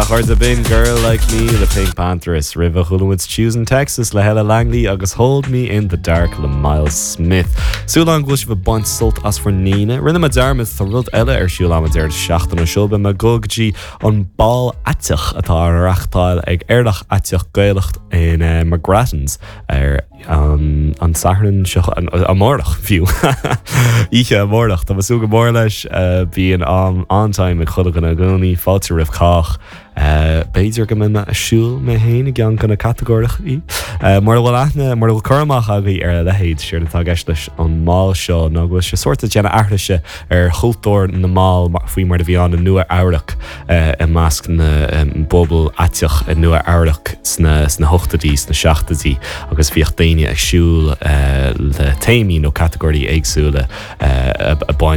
chairde, b'in Girl Like Me le PinkPantheress. Roimhe chuala muid Choosing Texas le Ella Langley agus Hold Me In The Dark le Myles Smith. Súil agam go bhfuil sibh ag baint sult as bhur n-Aoine. Rinne mé dearmad, tá rud eile ar siúl agam an deireadh seachtaine seo. Beidh mé ag dul go dtí an Bál Aiteach atá á reachtáil ag Aerach Aiteach Gaelach in McGrattan's ar an Satharn seo, amárach fiú. Oíche amárach. Tá mé ag súil go mór leis. Bíonn am an-time ag chuile dhuine i gcónaí. Fáilte roimh chách. B'fhéidir go mbeidh mé ag siúl mé féin i gceann de na catagóireachaí. Mura bhfuil aithne, mura bhfuil cur amach agaibh ar a leithéid, séard atá i gceist leis an mbál seo ná go bhfuil sé sórt ag déanamh aithrise ar chultúr na mbál faoi mar a bhí ann i Nua Eabhrac i measc na bpobal aiteach i Nua Eabhrac sna sna hochtóidí, sna seachtóidí agus bhíodh daoine ag siúl le téamaí nó catagóirí éagsúla a baint.